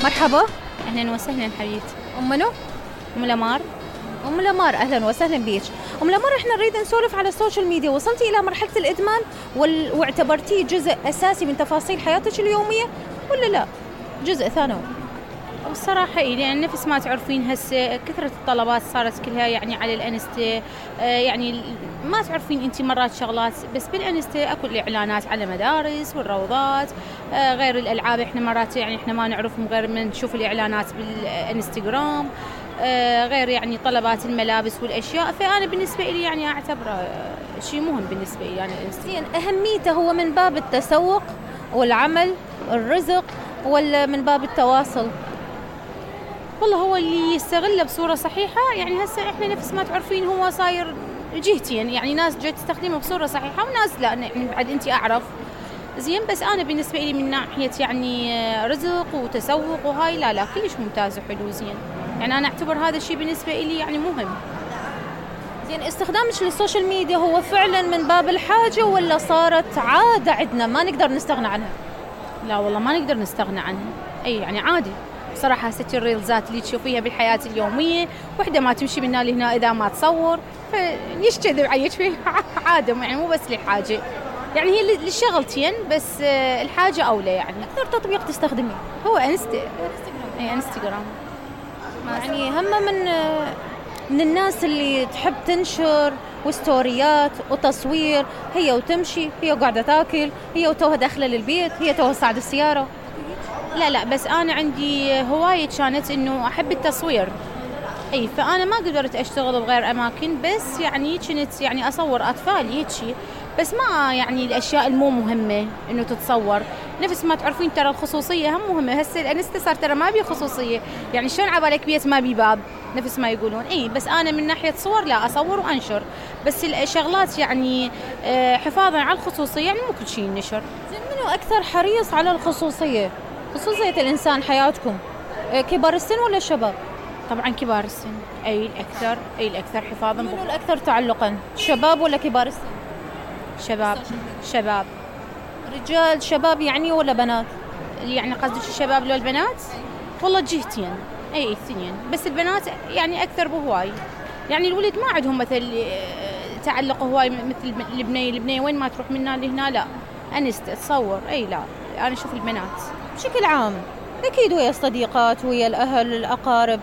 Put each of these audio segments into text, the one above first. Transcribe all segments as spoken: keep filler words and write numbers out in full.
مرحبا. اهلا وسهلا حبيبتي. ام منو؟ ام لمار. ام لمار اهلا وسهلا بيك. ام لمار احنا نريد نسولف على السوشيال ميديا، وصلتي الى مرحله الادمان وال... واعتبرتيه جزء اساسي من تفاصيل حياتك اليوميه ولا لا جزء ثانوي؟ والصراحة إيه، لأن نفس ما تعرفين هسه كثرة الطلبات صارت كلها يعني على الانستا، آه يعني ما تعرفين انت مرات شغلات بس بالانستا اكو الاعلانات على مدارس والروضات، آه غير الالعاب احنا مرات يعني احنا ما نعرفهم غير من نشوف الاعلانات بالانستغرام، آه غير يعني طلبات الملابس والاشياء. فانا بالنسبة لي يعني اعتبره شيء مهم بالنسبة لي يعني الانستغرام. اهميته هو من باب التسوق والعمل الرزق ولا من باب التواصل؟ والله هو اللي يستغله بصورة صحيحة، يعني هسه احنا نفس ما تعرفين هو صاير جهتين، يعني ناس جاي تستخدمه بصورة صحيحة وناس لا، يعني بعد انت اعرف زين. بس انا بالنسبة لي من ناحية يعني رزق وتسوق وهاي لا لا كلش ممتاز وحلو زين، يعني انا اعتبر هذا الشيء بالنسبة لي يعني مهم. زين استخدامك للسوشيال ميديا هو فعلا من باب الحاجة ولا صارت عادة عندنا ما نقدر نستغنى عنها؟ لا والله ما نقدر نستغنى عنها، اي يعني عادي صراحة. ست الريلزات اللي تشوفيها بالحياة اليومية وحدة ما تمشي من هنا لهنا إذا ما تصور، فليش كذب عيش فيه عادة، يعني مو بس للحاجة، يعني هي للشغلتين بس الحاجة أولى. يعني أكثر تطبيق تستخدميه هو انستا اي انستغرام. يعني هم من من الناس اللي تحب تنشر وستوريات وتصوير، هي وتمشي، هي وقاعدة تاكل، هي وتوها داخلة للبيت، هي توها صاعد السيارة. لا لا بس أنا عندي هواية كانت إنه أحب التصوير، أي فأنا ما قدرت أشتغل بغير أماكن، بس يعني كنت يعني أصور أطفال هيك شيء، بس ما يعني الأشياء المو مهمة إنه تتصور. نفس ما تعرفين ترى الخصوصية هم مهمة، هسه الانستا صار ترى ما بي خصوصية، يعني شلون عبالك بيت ما بي باب نفس ما يقولون. أي بس أنا من ناحية صور لا أصور وأنشر، بس الشغلات يعني حفاظا على الخصوصية، يعني مو كل شيء ينشر. زين منو أكثر حريص على الخصوصية؟ خصوصية الإنسان حياتكم كبار السن ولا الشباب؟ طبعا كبار السن، أي الأكثر أي الأكثر حفاظا. منو الأكثر تعلقا شباب ولا كبار السن؟ شباب. شباب. رجال شباب يعني ولا بنات؟ يعني قصدك الشباب لو البنات؟ والله جهتين أي اثنين، بس البنات يعني أكثر بهواي، يعني الولد ما عندهم مثل تعلق هواي مثل البنية. البنية وين ما تروح منا لهنا لا أنست تصور، أي لا أنا أشوف البنات بشكل عام أكيد ويا الصديقات ويا الأهل الأقارب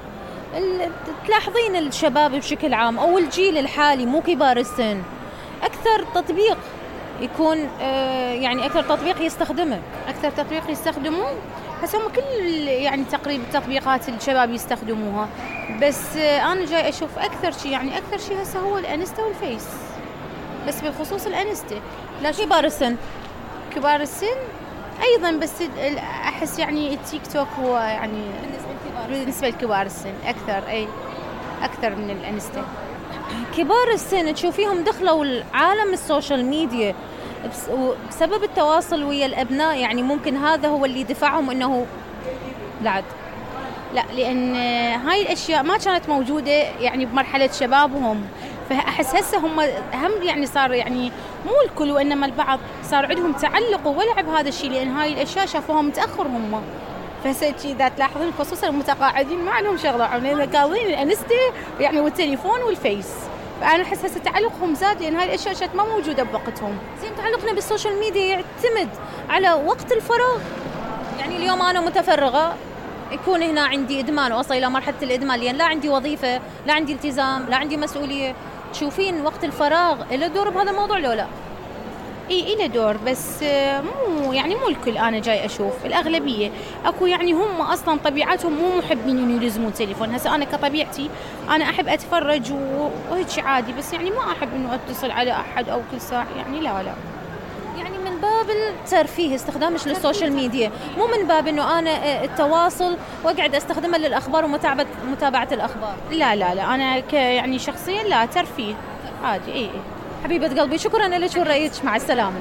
تلاحظين الشباب بشكل عام أو الجيل الحالي مو كبار السن أكثر تطبيق يكون آه يعني أكثر تطبيق يستخدمه أكثر تطبيق يستخدموه هسه هم كل يعني تقريبا تطبيقات الشباب يستخدموها، بس آه أنا جاي أشوف أكثر شيء يعني أكثر شيء هسه هو الانستا والفيس، بس بالخصوص الانستا. لا كبار السن كبار السن أيضا، بس أحس يعني التيك توك هو يعني بالنسبة لكبار السن أكثر، أي أكثر من الانستا. كبار السن تشوفيهم دخلوا عالم السوشيال ميديا بسبب التواصل ويا الأبناء، يعني ممكن هذا هو اللي دفعهم إنه لعد. لا لأن هاي الأشياء ما كانت موجودة يعني بمرحلة شبابهم، فأحس هسه هم هم يعني صار يعني مو الكل وإنما البعض صار عندهم تعلق وولع بهذا الشيء، لأن هاي الأشياء شافوها متأخر هم. فهسه إذا تلاحظون خصوصا المتقاعدين ما عندهم شغلة، عاملين كاظين الانستا يعني والتليفون والفيس، فأنا أحس هسه تعلقهم زاد لأن هاي الأشياء كانت ما موجودة بوقتهم. زين تعلقنا بالسوشيال ميديا يعتمد على وقت الفراغ، يعني اليوم أنا متفرغة يكون هنا عندي إدمان وأصل إلى مرحلة الإدمان لأن لا عندي وظيفة لا عندي التزام لا عندي مسؤولية. تشوفين وقت الفراغ له دور بهذا الموضوع لو لا؟ اي إله دور بس مو يعني مو الكل. انا جاي اشوف الاغلبيه اكو يعني هم اصلا طبيعتهم مو محبين انه يلزمون تليفون. هسه انا كطبيعتي انا احب اتفرج وهيك عادي، بس يعني ما احب انه اتصل على احد او كل ساعه، يعني لا لا يعني من باب الترفيه استخدامش للسوشيال ميديا، مو من باب انه انا التواصل واقعد استخدمها للاخبار ومتابعه متابعه الاخبار. لا لا لا انا ك يعني شخصيا لا ترفيه عادي. اي حبيبه قلبي شكرا لك ورأيك، مع السلامه.